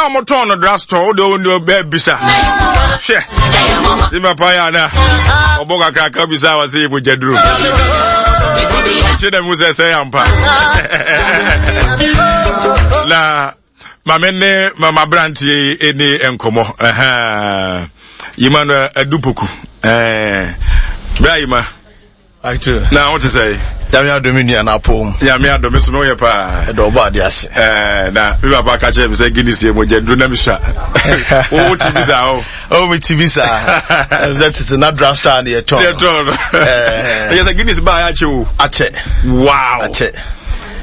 Na wɔn tɔn no drugstore wo de wo ne bɛɛ bisa. Hwɛ. Ti papa yɛ ana ɔbɔ kakraka bisa a wɔsɛ yɛ mogya duro. Kyerɛ dɛ mu sɛ sɛ yɛ ampa. Na maame ne mama aberanteɛ yi ne nkɔmmɔ. Yima no adupoku. Bra yima. Actor. Na wo te sɛ? Nyame adom me nua na apɔ mu. Nyame adom me so me woyɛ paa. Ɛdɔ ɔbɔ ade ase. Ɛɛ na me papa ka kyerɛ me sɛ Guinness yɛ mogya duro na me sua. Wo wo ti bi saa o. Oh me ti bi saa. Ɛsɛ tete na draft star ne yɛ tɔn. Yɛ tɔn no. Ɛɛ yɛ sɛ Guinness baa yɛ akyɛ o. Akyɛ. Wow. Akyɛ.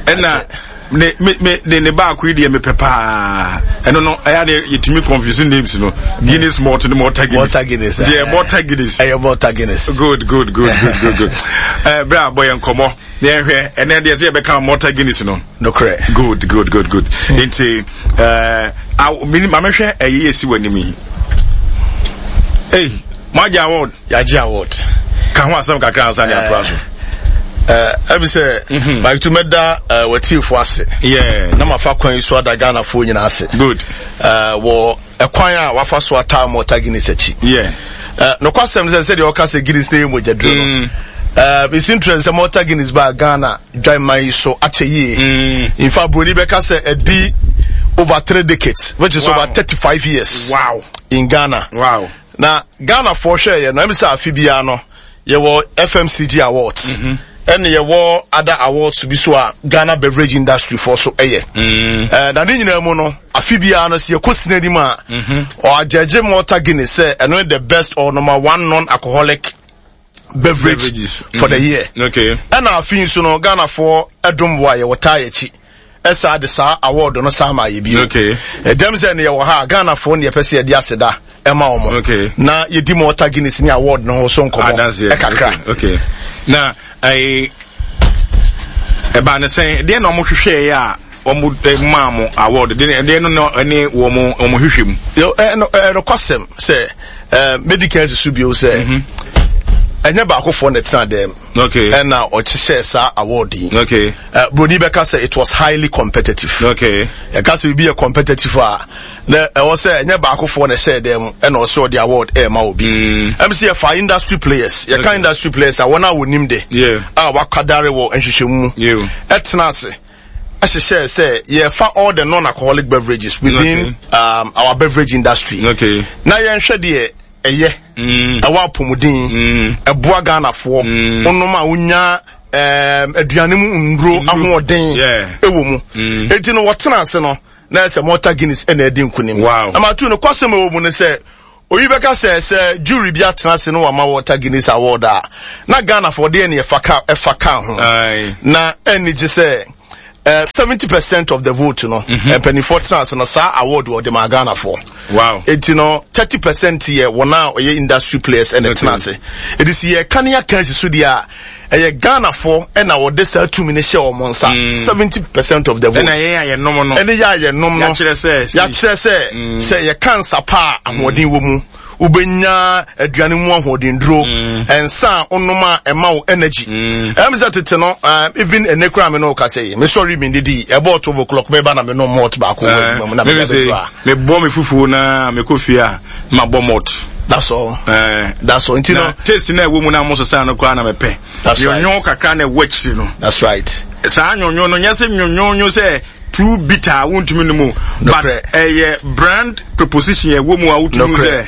Ɛna ne me me ne ne baako yi deɛ mepɛ paa ɛno no ɛyɛ adeɛ yɛtumi confuse names no Guinness malt ne Malta Guinness Malta Guinness deɛ eh. Malta Guinness ɛyɛ Malta Guinness good good good good good good ɛɛ eh, bere a bɔ yɛn nkɔmɔ na yɛn hwɛ ɛnɛ deɛ sɛ yɛbɛka Malta Guinness no nokorɛ good good good good nti ɛɛ awo mi maame hwɛ ɛyɛ yɛ si wɔ anim yi ee mo agye award. Yɛagye award. Ka ho asɛm kakra ansa ne atoa so. Ɛbi sɛ mhm. Mike tu mɛda w'atiefo ase. Na mafa kwan yi so ada Ghanafoɔ nyinaa ase. Good. Wɔ ɛkwan a wafa so ataa Malta Guinness akyi. Nokwasɛm sɛ sɛdeɛ ɔka sɛ Guinness na ɛyɛ mogyaduro no. Mm. It's interesting sɛ Malta Guinness baa Ghana dwaman yi so akyɛ yie. Mm. In fact, Broni bɛka sɛ ɛdi over 3 decades, which is over 35 years. In Ghana. Na Ghanafoɔ hwɛɛyɛ no, ɛm sɛ afe biara no, yɛwɔ FMCG awards, ɛne yɛwɔ other awards bi so a Ghana beverage industry foɔ so ɛyɛ. Na ne nyinaa mu no, afe biara no, sɛ yɛkɔ sini anim a, ɔagyɛgye Malta Guinness sɛ ɛno ne the best or number one non-alcoholic beverage Beverages. for the year. Ɛna afe yi nso no, Ghanafoɔ ɛdom boa yɛ, wɔtaa yɛ akyi. Ɛsaa de saa award no saa ma yɛ bio. Ɛdɛm sɛ ne yɛwɔ ha a, Ghanafoɔ ne yɛpɛ sɛ yɛde aseda ɛma wɔn. Na yɛdi Malta Guinness ne award no ho so nkɔmmɔ ɛkakra. Okay. Na ɛɛ ɛbaa ne sɛn deɛ na wɔn hwehwɛɛ a wɔn maa mo award deɛ deɛ no na ɛne wɔn wɔn hwehwɛ mu. Yo ɛno ɛnokwasɛm sɛ ɛɛ medical susu bio sɛ ɛnyɛ baakofoɔ na ɛtena dɛm. Ɛna ɔkyehyɛɛ saa award yi. Broni bɛka sɛ it was highly competitive. Yɛka sɛ biribi yɛ competitive a, na ɛwɔ sɛ ɛnyɛ baakofoɔ na ɛhyɛɛ dɛm mu ɛna ɔsɛ ɔde award ɛrema obi. Ɛm sɛ yɛfa industry players. Yɛka industry players a wɔn a wɔnim de a wakwadare wɔ nhwehwɛmu mu ɛtena ase ɛhyehyɛɛ sɛ yɛfa all the non-alcoholic beverages within our beverage industry. Na yɛnhwɛ deɛ ɛyɛ ɛwɔ apɔmuden ɛboa Ghanafoɔ wonom a wonya aduane mu nnuro ahoɔden ɛwɔ mu. Enti no wɔtena ase no na ɛsɛ Malta Guinness ɛna ɛdi nkunim. Na matu no kwasɛm ɛwɔ mu no sɛ oyi bɛka sɛ sɛ jury bi atena ase no wama Malta Guinness award a na Ghanafoɔ deɛ ne ɛfa ka ɛfa ka ho. Na ɛnni gye sɛ 70% of the vote no mpanimfoɔ tena ase no saa award wɔde maa Ghanafoɔ. Eti no 30% yɛ wɔn a wɔyɛ industry players ɛna tena ase. Eti si yɛ ka ne aka asi so deɛ a ɛyɛ Ghanafoɔ ɛna wɔde saa tumi no hyɛ wɔn nsa 70% of the vote. Ɛna yɛn a yɛnom no. Ɛne yɛ a yɛnom no. Yɛakyerɛ sɛ. Yɛakyerɛ sɛ sɛ yɛka nsa pa a ahoɔden wɔ mu. Wobɛnya aduane mu ahoɔdenduro. Nsa a wonom a ɛma wo energy. Ɛm sɛ tete no, even ɛnɛ koraa me ne wo kasa yi, mesɔre mendidi, ɛbɔɔ 12 o'clock meba na menom malt baako wɔ adwuma mu na mede abɛduru a. Mebɔ me fufuo na mekɔ fie a, mabɔ malt. That's all. That's all. Nti no. Taste na ɛwɔ mu na mo sesa no koraa na mepɛ. That's right. Nyonyo kakra na ɛwɔ akyiri no. That's right. Saa nyonyo no nyɛ sɛ nyonyonyo sɛ too bitter a wontumi no mu. But ɛyɛ brand preposition ɛwɔ mu a wotumi sɛ.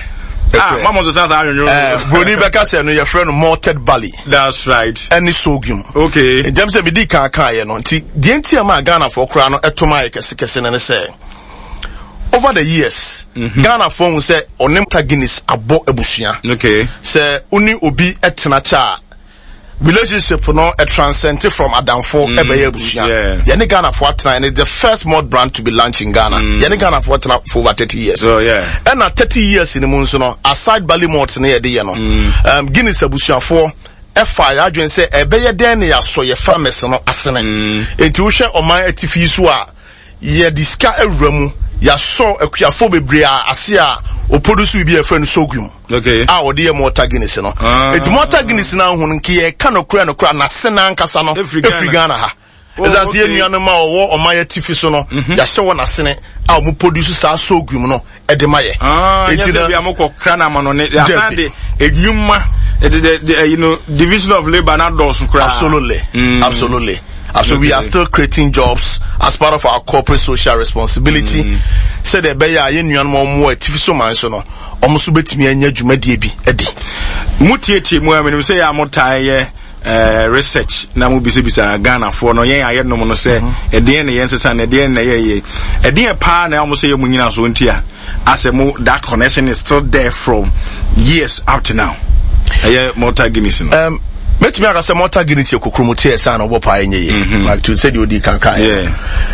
Ah, mama nso saa nyonyo. Broni bɛka sɛ no yɛfrɛ no malted barley. That's right. Ɛne sorghum. Okay. Nkyɛn sɛ medi kan kan yɛ no nti deɛ nti a ma Ghanafoɔ koraa no ɛto ma yɛ kɛse kɛse no ne sɛ over the years Ghanafoɔ hu sɛ ɔne Malta Guinness abɔ abusua. Sɛ wo obi ɛtena kyɛ a relationship no transcend from adamfo ɛbɛyɛ abusua. Yɛne Ghanafoɔ atena and it's the first malt brand to be launched in Ghana. Yɛne Ghanafoɔ atena for over 30 years. Oh, yeah. Ɛna 30 years ni mu nso no aside barley malt no yɛde yɛ no Guinness abusuafoɔ ɛfa yɛ adwene sɛ ɛbɛyɛ dɛn ne yɛasɔ yɛ farmers no asene. Enti wohwɛ ɔman atifi so a yɛde sika awura mu yɛasɔ akuafoɔ bebree a ase a ɔproduce biribi a yɛfrɛ no sorghum. A wɔde yɛ Malta Guinness no. Enti Malta Guinness no ahu no nka yɛka nokora nokora n'ase n'ankasa no efiri Ghana ha. Ɛsan sɛ yɛn nuanom a wɔwɔ ɔman atifi so no, yɛahyɛ wɔn asene a wɔn produce saa sorghum no ɛde ma yɛ. Ah, nyɛ sɛ bia mokɔ kra no ama no ne asan de edwuma de de de you know division of labour na dɔɔso koraa. Absolutely, absolutely. So we are still creating jobs as part of our corporate social responsibility. Sɛdeɛ ɛbɛyɛ a yɛn nuanom a wɔwɔ atifi so man so no, wɔn nso bɛtumi anya dwumadie bi adi. Mo tietie mu a menim sɛ yɛ a motaa yɛ eh, research na mo bisabisa Ghanafoɔ no yɛn a yɛnom no sɛ ɛdeɛn na yɛn sesa na ɛdeɛn na yɛyɛ ɛdeɛn paa na wɔn sɛ yɛ mo nyina so nti a asɛ mo that connection is still there from years up to now ɛyɛ Malta Guinness no. Mɛtumi aka sɛ Malta Guinness yɛ kokromoti a ɛsan na ɔbɔ paa ɛnyɛ yie. Like to sɛdeɛ ɔdi kankan yɛ.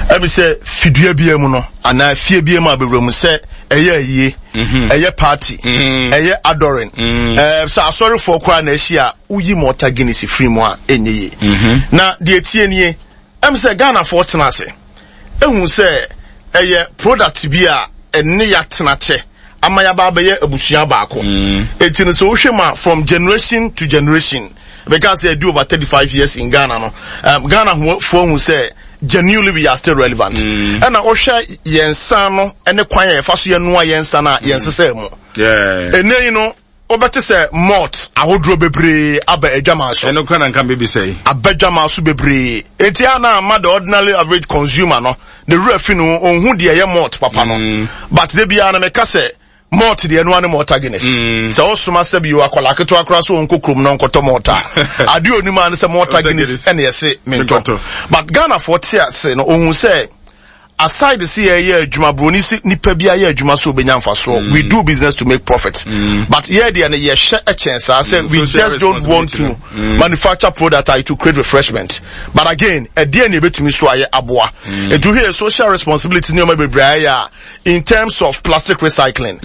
Ɛmi sɛ fidua biara mu no anaa fie biara mu a bɛwura mu sɛ ɛyɛ ayie, ɛyɛ party, ɛyɛ adoring, sɛ asɔrefoɔ koraa na ahyia a woyi Malta Guinness firi mu a ɛnyɛ yie. Na deɛ ɛtie nie, ɛm sɛ Ghanafoɔ tena ase ehu sɛ ɛyɛ product bi a ɛne yɛatena kyɛ ama yɛaba abɛyɛ abusua baako. Eti no sɛ wohwɛ mu a from generation to generation, bɛka sɛ ɛdi over 35 years in Ghana no, Ghana foɔ hu sɛ genuinely we are still relevant. Ɛna wohwɛ yɛn nsa no ne kwan a yɛfa so yɛnoa yɛn nsa no a yɛn sesɛ mu. Ɛnɛ yi no wobɛte sɛ malt ahodoɔ bebree aba adwaman so. Ɛno kora na nka mbɛbisa yi. Aba adwaman so bebree. Enti a na ama the ordinary average consumer no, ne werɛ fi no, ɔnhu deɛ ɛyɛ malt papa no. But da biara no meka sɛ, malt deɛ ɛno ara ne Malta Guinness. Sɛ wosoma sɛ bio akwadaa ketewa koraa sɛ ɔnkɔ kurom na ɔnkɔtɔ malt a, adeɛ onim ara ne sɛ Malta Guinness ɛna ɛse mentɔ. But Ghanafoɔ te ase no, ɔhu sɛ aside sɛ yɛyɛ adwuma, broni sɛ nipa bi ayɛ adwuma so obenya mfasoɔ. We do business to make profit. But yɛ deɛ no yɛhwɛ ɛkyɛn saa sɛ we just don't want to manufacture product to create refreshment. But again, ɛdeɛ na ebetumi so ayɛ aboa. Etu hwɛ social responsibility nneɛma bebree ayɛ a in terms of plastic recycling.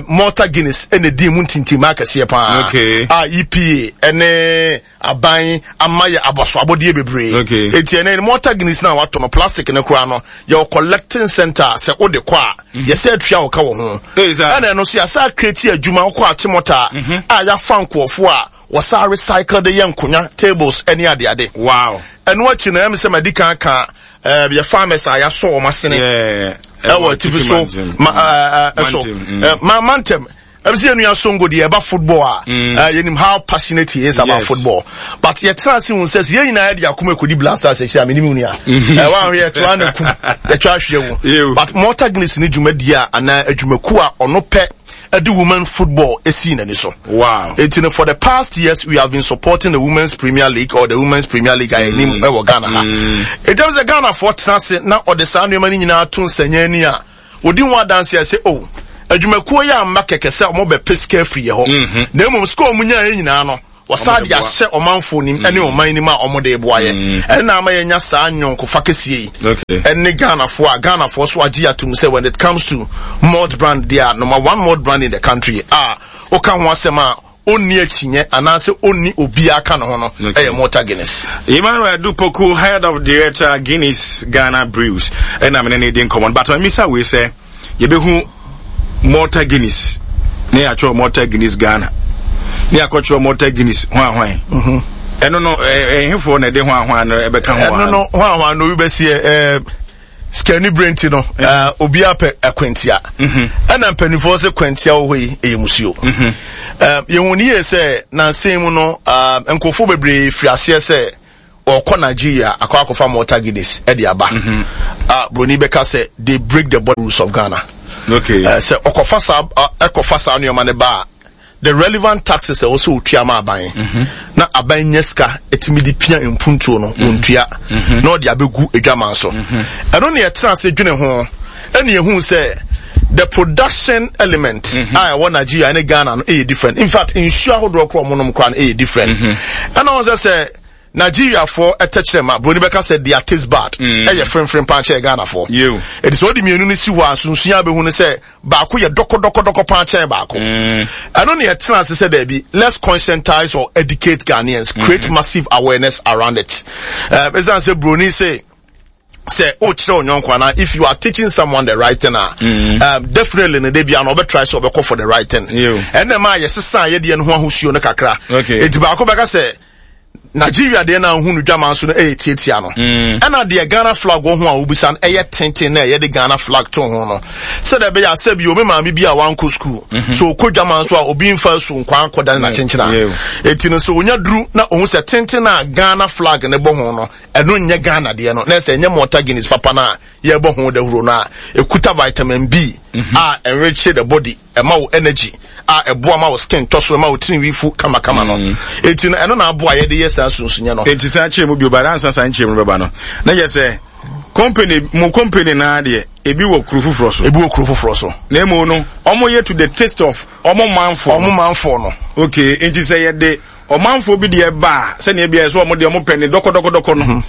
Malta Guinness ɛna edi mu ntintim akɛseɛ paa. A EPA ɛne aban ama yɛ abɔso abɔdeɛ bebree. Eti ɛnɛ Malta Guinness na watɔ no plastic no koraa no yɛwɔ collecting center sɛ wode kɔ a yɛsɛ atua wo ka wɔ ho. Ɛna ɛno so yɛsɛ akreti adwuma wokɔ Achimota a yɛafa nkurɔfoɔ a wɔsa recycle de yɛ nkonya tables ɛne adeade. Wow. Ɛno akyi no ɛm sɛ madi kan ka yɛ farmers a yɛasɔ wɔn asene ɛwɔ atifi so ma ɛso ma mantam. Ɛm sɛ yɛn nua Songo deɛ ɛba football a, yɛnim how passionate he is about football. But yɛtena ase hu sɛ sɛ yɛn nyinaa yɛde akoma ɛkɔdi Black Stars akyi a, menim wo nua. Wanhwɛ yɛtoa na kum, yɛtwa ahweɛ wo. But Malta Guinness ne dwumadie a anaa adwumakuo a ɔno pɛ ɛde women football esii n'ani so. Wow. Eti no for the past years we have been supporting the Women's Premier League or the Women's Premier League a yɛnim ɛwɔ Ghana ha. Eti ɛm sɛ Ghanafoɔ tena ase na ɔde saa nneɛma no nyinaa to nsɛnyɛ ani a, Wɔdi ho adanseɛ sɛ, O, adwumakuo yi amma kɛkɛ sɛ wɔbɛpɛ sika afiri yɛ hɔ, na mmom sika a wɔnyaeɛ nyinaa no, wɔsan de ahyɛ ɔmanfoɔ nim ne ɔman nim a wɔde reboa yɛ. Ɛno na ama yɛanya saa nyɔnkofa kɛseɛ yi ne Ghanafoɔ a Ghanafoɔ nso agye atom sɛ when it comes to malt brand deɛ a, number one malt brand in the country a woka ho asɛm a ɔnni akyinnye anaasɛ ɔnni obiara ka ne ho no yɛ Malta Guinness. Emmanuel Adu Poku, Head of Director, Guinness Ghana Brews, ɛna mene ne di nkɔmmɔ no. But mamisa wei sɛ, yɛbɛhu Malta Guinness ne yɛatwerɛ Malta Guinness Ghana ne yɛakɔtwerɛ Malta Guinness hwan hwan. Ɛno no, ɛhefoɔ na ɛde hwan hwan no ɛbɛka ho? Ɛno no, hwan hwan no, obi bɛseɛ, sikani bere nti no obiara pɛ akwantia. Ɛna mpanimfoɔ sɛ kwantia wɔ hɔ yi ɛyɛ musuo. Yɛhu ne yie sɛ nansa mu no nkurɔfoɔ bebree firi aseɛ sɛ ɔkɔ Nigeria akɔ akɔfa Malta Guinness ɛde aba. Broni bɛka sɛ they break the border rules of Ghana. Sɛ ɔkɔfa saa ɛkɔfa saa nneɛma no ba a, the relevant taxes ɛwɔ sɛ otua ma aban na aban nya sika ɛtumi de pia mpuntuo no wɔntua na ɔde abɛgu adwaman so. Ɛno ne yɛtena ase dwene ho ɛne yɛhu sɛ the production element a ɛwɔ Nigeria ne Ghana no ɛyɛ different. In fact, nsuo ahodoɔ korɔ ɔmo nom koraa no ɛyɛ different. Ɛna wɔn sɛ sɛ Nigeriafoɔ tɛkyerɛma, broni bɛka sɛ their taste bud, ɛyɛ fremfrem paa kyɛn Ghanafoɔ. Ɛti sɛ wode mmienu no si hɔ a, nsonsonoeɛ a wobɛhu ne sɛ baako yɛ dɔkɔdɔkɔdɔkɔ paa kyɛn baako. Ɛno na yɛtena ase sɛ daabi, let's conscientize or educate Ghanaians, create massive awareness around it. Ɛsiane sɛ broni se, sɛ wokyerɛ wo nyɔnko anaa if you are teaching someone the right thing a, definitely no da bia no ɔbɛtry sɛ ɔbɛkɔ for the right thing. Ɛnna ɛma yɛsesa yɛdeɛ no ho ahosuo no kakra. Enti baako bɛka sɛ Nigeria deɛ na ahu no dwaman so no ɛyɛ tiatia no. Ɛna deɛ Ghana flag wɔ ho a wobisa no ɛyɛ tenten na ɛyɛ de Ghana flag to ho no. Sɛdeɛ ɛbɛyɛ a sɛbi omi maame bi a wankɔ school. So okɔ dwaman so a obi nfa so nkwan akɔda ne n'akyenkyena. Eti no sɛ onya duru na ohun sɛ tenten a Ghana flag ne bɔ ho no ɛno nyɛ Ghana deɛ no na ɛsɛ ɛnyɛ Malta Guinness papa no a yɛbɔ ho dawuro no a ekuta vitamin B a enrich the body. Ɛma wo energy a ɛboa ma wo skin tɔ so, ɛma wo tirinwi fu kamakama no. Enti no, ɛno na aboa yɛde yɛ saa sunsunyɛ no. Enti saa kyerɛ mu bio, but ansa saa nkyerɛ mu no bɛba no, na yɛ sɛ company, mo company naa deɛ, ebi wɔ kuro foforɔ so. Ebi wɔ kuro foforɔ so. Na emu no, wɔn yɛ to the taste of wɔn manfoɔ. Wɔn manfoɔ no. Okay, enti sɛ yɛde ɔmanfoɔ bi deɛ ba a, sɛnea ebi a yɛ sɛ wɔn deɛ wɔn pɛ ne dɔkɔdɔkɔdɔkɔ no,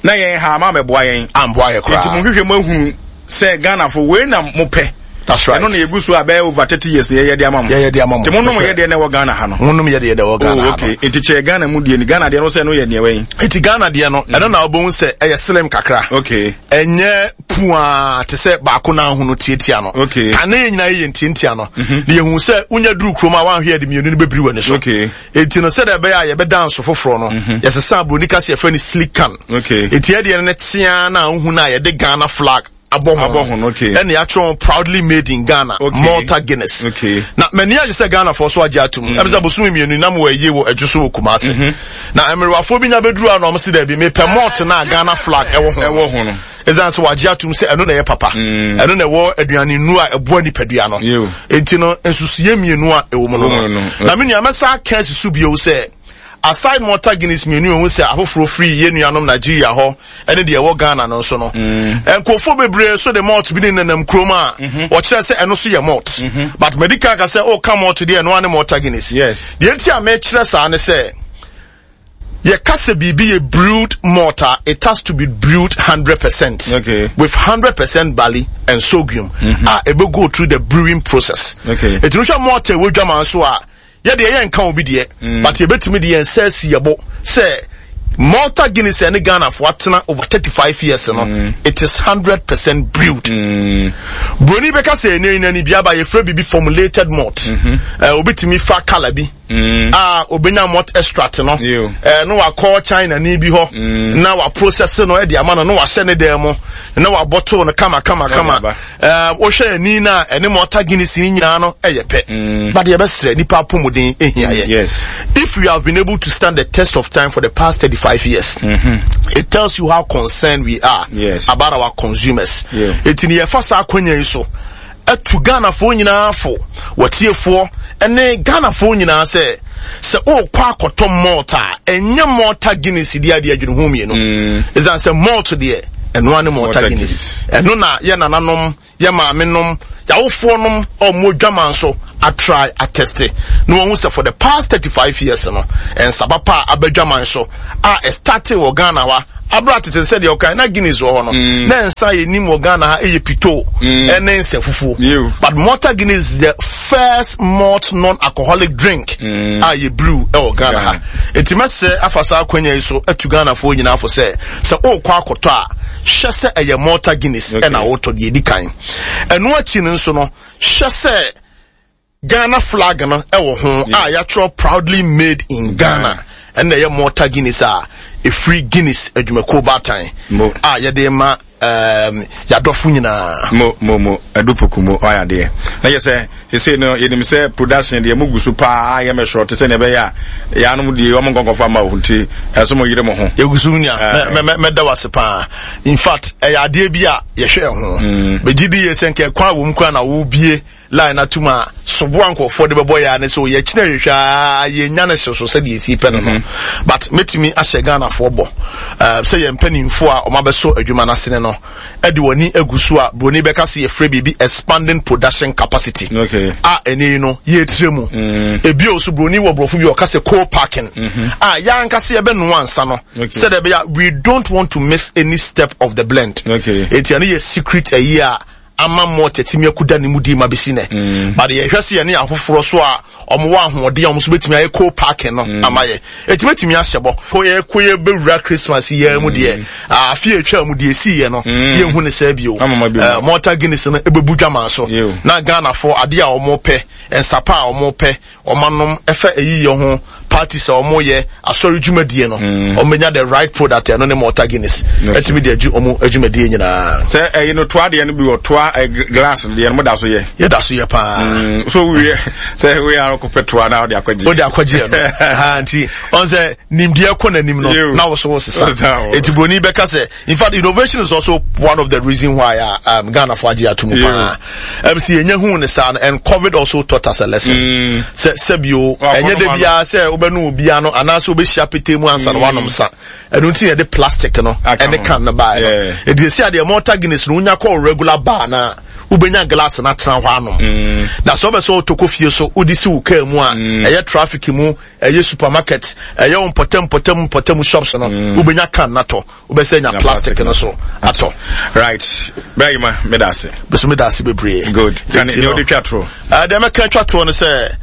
na yɛn ha ama amɛboa yɛn. Amboa yɛ koraa. Enti mo hwehwɛ mo ahunu sɛ Ghanafo wei na mo pɛ. That's right. Ɛno na yɛgu so a bɛyɛ over 30 years na yɛyɛ de ama mo. Yɛyɛ de ama mo. Nti mo nom yɛ deɛ na ɛwɔ Ghana ha no. Mo nom yɛ deɛ na ɛwɔ Ghana oh, ha no. Okay. Nti kyerɛ Ghana mu deɛ ni. Ghana deɛ no sɛ ɛno yɛ deɛ wɛn. Nti Ghana deɛ no, ɛno na wobɛhu sɛ ɛyɛ slim kakra. Okay. Ɛnyɛ puaa te sɛ baako na ahono tiatia no. Okay. Kane yɛ nyinaa yɛ ntiantia no. Na yɛhu sɛ wonya duru kurom a woanhwɛ yɛde mmienu no bɛbiri w'ani so. Okay. Enti no sɛdeɛ ɛbɛyɛ a yɛbɛda nso foforɔ no, yɛsesa aburoni ka sɛ yɛfrɛ no sleek can. Okay. Enti ɛdeɛ no ne teaa na wohu no a yɛde Ghana flag abɔ ho. Abɔ ho no, okay. Ɛna yɛatwerɛ ho proudly made in Ghana, okay. Malta Guinness. Okay. Na m'ani agye sɛ Ghanafoɔ so agye atom. Ɛm sɛ bosome mmienu na mewɔ ayie wɔ adwo so wɔ Kumasi. Na mmerewafoɔ bi nya bɛduru a na wɔn se daabi mepɛ malt na Ghana flag ɛwɔ ho. Ɛwɔ ho no. Ɛsiane sɛ wagye atom sɛ ɛno na ɛyɛ papa. Ɛno na ɛwɔ aduane nnuro a ɛboa nipadua no. Enti no nsusuiɛ mmienu a ɛwɔ mu no no. Na me nua mɛsa aka asi so bio sɛ aside Malta Guinness mmienu ehu sɛ afoforɔ firi yɛn nuanom Nigeria hɔ ɛne deɛ ɛwɔ Ghana no nso no. Nkurɔfoɔ bebree so de malt bi ne nenam kurom a wɔkyerɛ sɛ ɛno so yɛ malt. But madi kan ka sɛ ɔka malt deɛ ɛno ara ne Malta Guinness. Yes. Deɛ nti a mekyerɛ saa ne sɛ yɛka sɛ biribi yɛ brewed malt a, it has to be brewed 100%. Okay. With 100% barley and sorghum. A ɛbɛ go through the brewing process. Okay. Ɛtumi hwɛ malt a ɛwɔ dwaman so a, yɛdeɛ yɛnka obi deɛ, but yɛbɛtumi de yɛn nsa asi yɛbo sɛ Malta Guinness ɛne Ghanafoɔ atena over 35 years no, it is 100% brewed. Broni bɛka sɛ ɛnɛ yi nani bi aba yɛfrɛ biribi formulated malt. Obi tumi fa colour bi. A obenya malt extract no na wakɔ China ni bi hɔ na wa process no de ama no na wahyɛ ne dan mu na wabɔtoo no kama kama kama. Wohwɛ ani no a ɛne Malta Guinness ni nyinaa no ɛyɛ pɛ. But yɛbɛsrɛ nipa apɔmuden ehia yɛ. Yes. If you have been able to stand the test of time for the past 35 years, it tells you how concerned we are about our consumers. Eti ni yɛfa saa akwanya yi so atu Ghanafoɔ nyinaa fo, wɔtiefoɔ ne Ghanafoɔ nyinaa sɛ, sɛ wokɔ akɔtɔ malt a, ɛnyɛ Malta Guinness deɛ adeɛ adwene ho mmienu. Ɛsiane sɛ malt deɛ, ɛno ara ne Malta Guinness. Ɛno na yɛ nananom, yɛ maamenom, yɛawofoɔ nom a wɔn dwaman so atry atɛste na wɔn sɛ for the past 35 years no, nsaba pa a aba dwaman so a ɛstartee wɔ Ghana ha abira tete sɛ deɛ ɔkan na Guinness wɔ hɔ no, na nsa yɛ nim wɔ Ghana ha ɛyɛ pito ɛne nsa fufuo. But Malta Guinness is the first malt non-alcoholic drink a yɛ brew ɛwɔ Ghana ha. Eti mɛsrɛ afa saa akwanya yi so atu Ghanafoɔ nyinaa fo sɛ sɛ ɔrekɔ akɔtɔ a, hwɛ sɛ ɛyɛ Malta Guinness ɛna wotɔ deɛ edi kan. Ɛno akyi no nso no, hwɛ sɛ Ghana flag no ɛwɔ ho a yɛatwerɛ proudly made in Ghana. Ɛna ɛyɛ Malta Guinness a ɛfiri Guinness adwumakuo baatan a yɛde ma yɛadɔfo nyinaa. Mo mo mo Adu Poku mo ɔyɛ adeɛ. Na yɛ sɛ sesei no yɛnim sɛ production deɛ mo gu so paa yɛ mɛsrɔ te sɛ nea ɛbɛyɛ a yɛanom deɛ wɔn nkɔnkɔfa ma wo nti ɛso mo yere mo ho. Yɛgu so nua, mɛda wo ase paa. In fact ɛyɛ adeɛ bi a yɛhwɛ ho. Megye di yie sɛ nka ɛkwan wɔ mu koraa na wobie line atum a soboa nkurɔfoɔ de bɛbɔ yɛ a ne sɛ yɛkyina hwehwɛ a yɛnya no hye so sɛdeɛ ɛsi pɛ no no. But mɛtumi ahyɛ Ghanafoɔ bɔ sɛ yɛn mpanimfoɔ a wɔabɛsɔ adwuma no asene no de wɔn ani agu so a buroni bɛka sɛ yɛfrɛ biribi expanding production capacity. A ɛne yi no yɛtire mu. Ebio so buroni wɔ borɔfo bi ɔka sɛ co-packing a yɛn ankasa yɛbɛnoa nsa no sɛdeɛ ɛbɛyɛ we don't want to miss any step of the blend. Eti ɛno yɛ secret ɛyi a ama malt atumi akuda ne mu di ma besi nɛ. But yɛhwɛ sɛ yɛne afoforɔ so a wɔn wɔ ahoɔden a wɔn nso betumi ayɛ co-packing no ama yɛ. Eti betumi ahyɛ bɔ. Ko yɛ ko yɛ bɛwura Christmas yɛ mu deɛ, afe a etwa mu deɛ esi yɛ no, yɛn hu ne sɛ bio. Malta Guinness no ebebu dwaman so. Na Ghanafoɔ adeɛ a wɔn pɛ, nsapa a wɔn pɛ, wɔn anom ɛfɛ eyi yɛ ho. Parties a wɔn yɛ asɔre dwumadie no, mm. wɔn bɛnya the right product ɛno ne Malta Guinness. Ɛtumi de agye wɔn adwumadie nyinaa. Sɛ ɛyi no toa deɛ no bi wɔ toa ɛ glass deɛ no mo da so yɛ. Yɛ da so yɛ paa. Mm, so wiye sɛ wiye arɔkɔ pɛ toa na ɔde akɔgye. Ɔde akɔgye yɛ no. Ha nti ɔn sɛ nimdeɛ kɔ n'anim no na woso wo sesa. Eti broni bɛka sɛ in fact innovation is also one of the reason why uh, Ghana fo agye ato mu paa. MC yɛnya hu ne saa no and COVID also taught us a lesson. Mm. Sɛ sɛbio ɛnyɛ de biara sɛ wobɛnu obiara no anaasɛ wobɛhyia petee mu ansa na mm. wanom sa. Ɛno nti yɛde plastic no ɛne can no baeɛ no. Ɛdi esi adeɛ Malta Guinness no wonya kɔ regular bar na wobɛnya glass no atena hɔ anom. Mm. Na sɛ wobɛ sɛ wotɔ fie so wode si wo kaa mu a mm. ɛyɛ traffic mu ɛyɛ supermarket ɛyɛ wo mpɔtam mpɔtam mpɔtam shops no mm. wobɛnya can no atɔ wobɛsɛ nya plastic no so atɔ. Right bɛyi ma meda ase. Bɛso meda ase bebree. Good. Kan ne wode twa toɔ. Deɛ mɛka twa toɔ no sɛ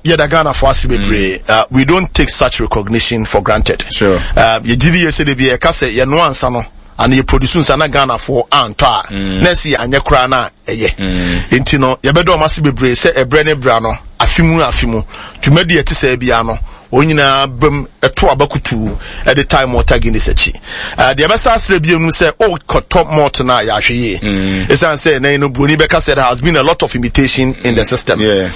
yɛda Ghanafoɔ ase bebree. Mm. We don't take such recognition for granted. Sure. Yɛgye di yɛ sɛ de bi yɛka sɛ yɛnoa nsa no ana yɛ produce nsa na Ghanafoɔ antɔ a mm. na ɛsi anyɛ koraa na ɛyɛ. Mm. Nti no yɛbɛdɔ ɔmo ase bebree sɛ ɛbrɛ ne bra no afe mu afe mu dwumadi ɛte sɛ bia no wɔn nyinaa bam ɛto aba kutuu ɛde tae Malta Guinness akyi. Deɛ ɛbɛsa asrɛ bio no sɛ ɔkɔtɔ malt no a yɛahwɛ yie. Ɛsiane sɛ ɛnɛ no buroni bɛka sɛ there has been a lot of imitation in the system. Yeah.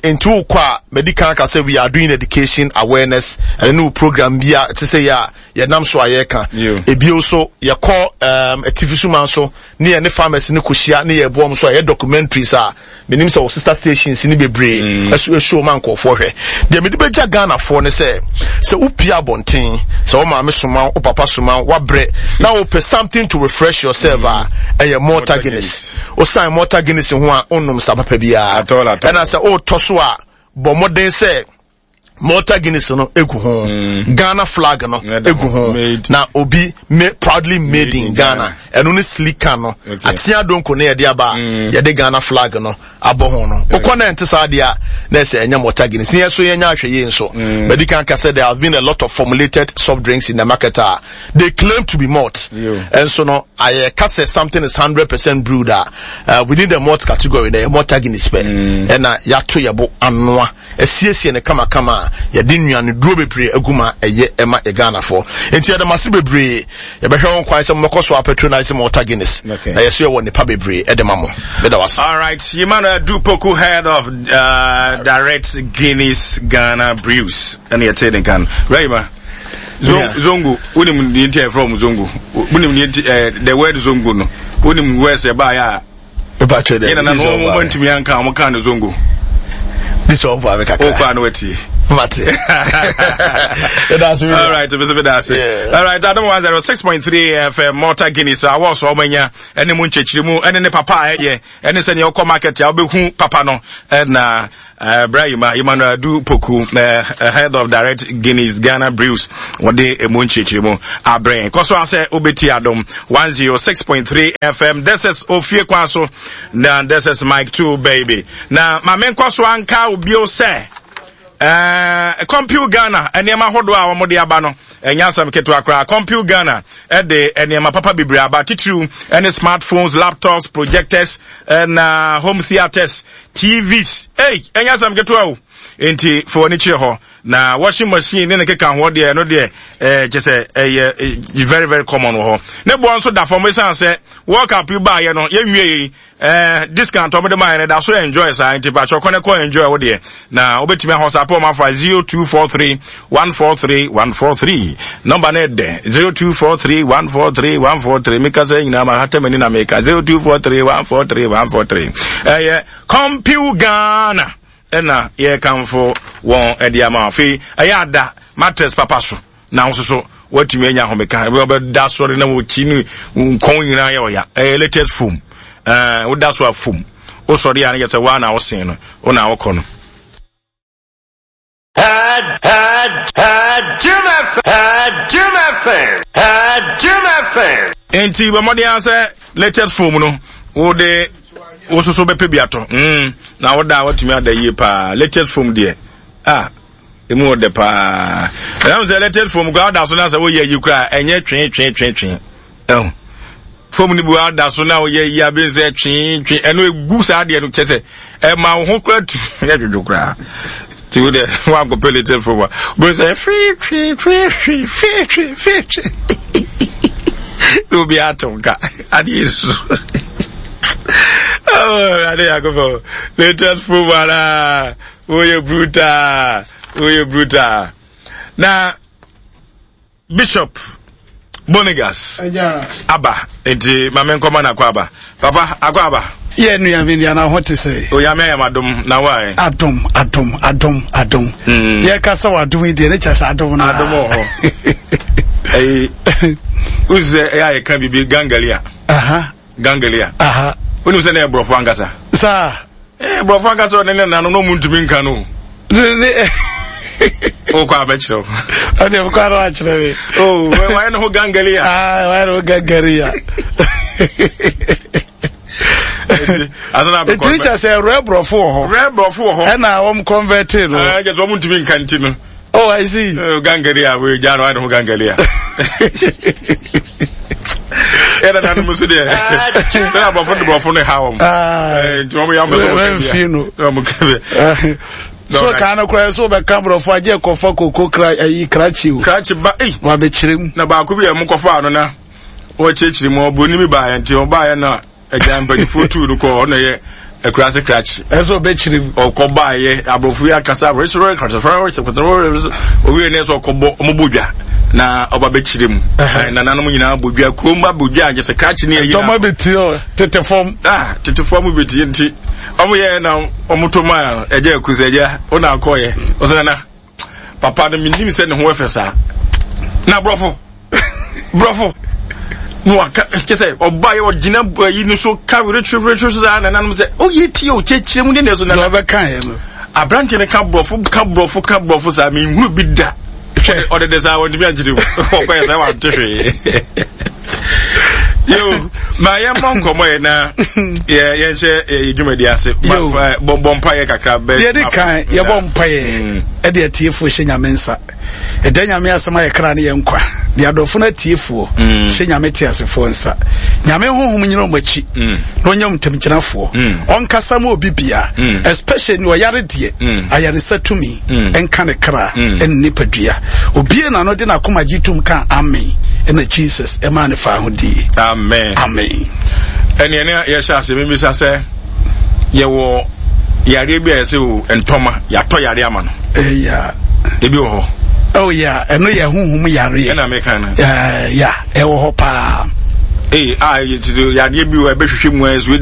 Nti wokɔ a madi kan aka sɛ we are doing education awareness ɛne ne wo program bi a ɛte sɛ yɛ a yɛnam so a yɛreka. Ebio so yɛkɔ atifi so man so ne yɛne farmers no kɔhyia ne yɛboa wɔn so a yɛ documentaries a menim sɛ wɔ sister stations ne bebree mm. ɛso ɛsuo ma nkurɔfoɔ hwɛ. Deɛ mede bɛgya Ghanafoɔ ne sɛ sɛ wopie abɔnten sɛ wo maame soma wo papa soma wo wabrɛ na wopɛ something to refresh yourself a ɛyɛ Malta Guinness. Wosan Malta Guinness ho a wonnom sa papa biara. Ɛna sɛ wotɔ so a bɔ mmɔden sɛ Malta Guinness no egu ho mm. Ghana flag no egu ho na obi me, proudly made, made in Ghana ɛno ne sleek can no atea donko ne yɛde aba mm. yɛde Ghana flag no abɔ ho no wokɔ na ɛnte saa deɛ a na ɛsɛ ɛnyɛ Malta Guinness ne yɛ so yɛnyɛ ahwɛ yie nso bɛdi kan ka sɛ there have been a lot of formulated soft drinks in the market a they claim to be malt ɛnso no ayɛ ka sɛ something is 100% brewed a uh, within the malt category na ɛyɛ Malta Guinness pɛ ɛna yɛato yɛbo anoa asiesie no kamakama a yɛde nnuaneduro bebree agu mu a ɛyɛ ɛma yɛ Ghanafoɔ. Nti yɛda mo ase bebree. Yɛbɛhwɛ ho kwan sɛ mobɛkɔ so apatronise Malta Guinness. Okay. Na yɛso yɛwɔ nnepa bebree ɛde ma mo. Meda wo ase. All right, Emmanuel Dupoku, head of uh, Direct Guinness Ghana Brews. Ɛne yɛte ne kan. Rayma. Zongo, wonim deɛ nti a yɛfrɛ wɔn Zongo. Wonim deɛ nti eh, the word Zongo no. Wonim words ɛbaeɛ a Mepa dɛ. Yɛn nana no wɔn ntumi anka wɔn kan no zongo. This one for kakra. Okɔ ano ati. Mate. All right, bese beda ase. All right, Adam 106.3 FM Malta Guinness awɔ so ɔmanya ɛne mu nkyɛkyerɛ mu ɛne ne papa a ɛyɛ ɛne sɛ nea ɔkɔ market a wobɛhu papa no ɛna Uh, Bra Yima, Emmanuel Adu Poku, uh, head of Direct Guinness Ghana Brews, wɔde emu nkyerɛkyerɛ mu abrɛ. Kɔ so asɛ wobɛti adom 106.3 FM. This is Ofie Kwan so. Na this is Mike 2 baby. Na ma menkɔ so anka obio sɛ uh, Compute Ghana nneɛma ahodoɔ a wɔde aba no ɛnyɛ asɛm ketewa koraa. Compute Ghana ɛde nneɛma papa bebree aba titiriw ɛne smartphones, laptops, projectors, ɛna home theaters TVs, ei, ɛnyɛ asɛm ketewa o. Enti fa w'ani kyerɛ hɔ. Na washing machine ne ne keka ho deɛ, ɛno deɛ, ɛɛ kyɛ sɛ ɛyɛ eh, very very common wɔ hɔ. Ne boɔ nso da fam esiane sɛ World Cup yi baayɛ no, yɛnwie yi, ɛɛ discount wɔn de maa yɛn no da so enjoy saa nti pakyɛ kɔ ne kɔ enjoy wo deɛ. Na wobɛtumi ahɔ saa pɛ wɔn afa 0243 143 143. Nɔmba no ɛdɛ 0243 143 143. Meka sɛ nyinaa ma hata m'ani na meka 0243 143 143. Ɛyɛ Compu Ghana ɛna yɛkamfo wɔn ɛde ama. Afei ɛyɛ ada mattress papa so na nso so watumi anya ahomeka. Wɔbɛda sɔre na wɔkyi ne nkɔn nyinaa yɛ ɔya. Ɛyɛ latest foam. Ɛɛ woda so a foam. Wosɔre a ne yɛ sɛ woa na wosen no, wo na wokɔ no. Had, had, had, Jim F. Had, Jim FM. Had, Jim FM. Enti bɔ mmɔden ara sɛ latest phone no wode wososo bɛpɛ bi atɔ mm, na woda a watumi ada yie paa latest phone deɛ ah emu wɔ dɛ paa ɛnam sɛ latest phone koraa woda so na sɛ woyɛ yi koraa ɛnyɛ twee twee twee twee ɛho fam no bi ada so na woyɛ yi abe sɛ twee twee ɛno egu saa deɛ no kyɛ sɛ ɛma wo ho koraa tu yɛ dwodwo koraa. Nti wo deɛ woankɔpɛ latest promo a, wobɛhu sɛ fii fii fii fii fii fii fii fii na obi ato nka adeɛ nsu. Oh, ade yakɔfɔ latest promo ara woyɛ brutal woyɛ brutal na Bishop Bonigas aba nti ma me nkɔma no akɔ aba. Papa akɔ aba. Yɛ nua mi nua na ho te sɛ. Oyame ayɛ adom na wa ɛ. Adom adom adom adom. Mm. Yɛ kasa wɔ adom yi deɛ ne kyɛ sɛ adom na. Adom wɔ hɔ. Ɛyi wosi sɛ ɛyɛ ayɛ ka bibi gangalia. Aha. Gangalia. Aha. Wonim sɛ na yɛ borɔfo ankasa. Saa. Eh, borɔfo ankasa ɔne ne nano na ɔmu ntumi nka no. Ne wokɔ abɛkyerɛ wo. Ɛne wokɔ ano akyerɛ me. Oh, wayɛ ne ho gangalia. Ah, wayɛ ne ho gangalia. Ɛtumi kyɛ sɛ rɛ borɔfo wɔ hɔ. Rɛ borɔfo wɔ hɔ. Ɛna wɔn convert no. Ɛɛ kyɛ sɛ wɔn ntumi nka nti no. Oh, I see. Oh, gangalia, we gya no wayɛ ne ho gangalia. Yɛda nanom nso deɛ sɛ aborɔfo de borɔfo no ha wɔm nti wɔn yɛ wɔn bɛ sɛ wɔn ka bi so kaa no koraa sɛ wobɛka borɔfo agye kɔfa koko kra ayi krakye o krakye ba ei wabɛkyerɛ mu na baako bi a ɛmo kɔfa ano na wɔkyerɛkyerɛ mu ɔbroni bi baeɛ nti ɔbaeɛ na agya mpanimfoɔ tuu no kɔɔ ɔna yɛ akuraase krakye ɛsɛ ɔbɛkyerɛ mu ɔkɔ baeɛ aborɔfo yi akasa owie ne sɛ ɔkɔbɔ ɔmobɔ dwa na ɔba bɛkyerɛ mu nananom nyinaa bɔ dwa kurom ba bɔ dwa nkyɛ sɛ krakye ne ayi na bɛtie tete fam ah tete fam bɛtie nti ɔmo yɛ na ɔmo to maa ɛgya aku sɛ ɛgya ɔna akɔyɛ ɔsɛ nana papa no menim sɛ ne ho ɛfɛ saa na borɔfo borɔfo na waka kyɛ sɛ ɔba yɛ ɔgyina ayi no so ka weretweretwe so saa nananom sɛ ɔyɛ tie o kyerɛkyerɛ mu ne ne so nana ɔbɛka yɛ no aberanteɛ no ka borɔfo ka borɔfo ka borɔfo saa menhunu bi da ɔde de saa wɔntumi ankyerɛ mu ɔkɔyɛ saa wante hwee yo ma yɛmmɔ nkɔmmɔ yɛ na yɛnhyɛ yɛ dwumadi ase bɔ mpa yɛ kakra bɛ yɛde kan yɛbɔ mpa yɛ mm. ɛde atiefoɔ hyɛ nyame nsa ɛda nyame asɛm ayɛ kra ne yɛ nkwa de adɔfo no atiefoɔ mm. hyɛ nyame te asefoɔ nsa nyame honhom nyina ɔmo akyi mm. na ɔnyɛ ntamgyinafoɔ ɔnkasa ma obi bia especially ne ɔyare deɛ ayaresa tumi mm. nka ne kra mm. ɛne nipadua obie na no de n'akoma gye tom ka amen ɛna jesus ɛmaa ne fa ahodie amen amen ɛne ɛne yɛhyɛ ase mebisa sɛ yɛwɔ yareɛ bi a yɛsɛ o ntɔma yɛatɔ yareɛ ama no ɛya ebi wɔ hɔ oh yeah ɛno yɛ honhom yareɛ ɛna meka no ya ɛwɔ hɔ paa ee a yareɛ bi wɔ ɛbɛhwehwɛ mu a ɛsɛ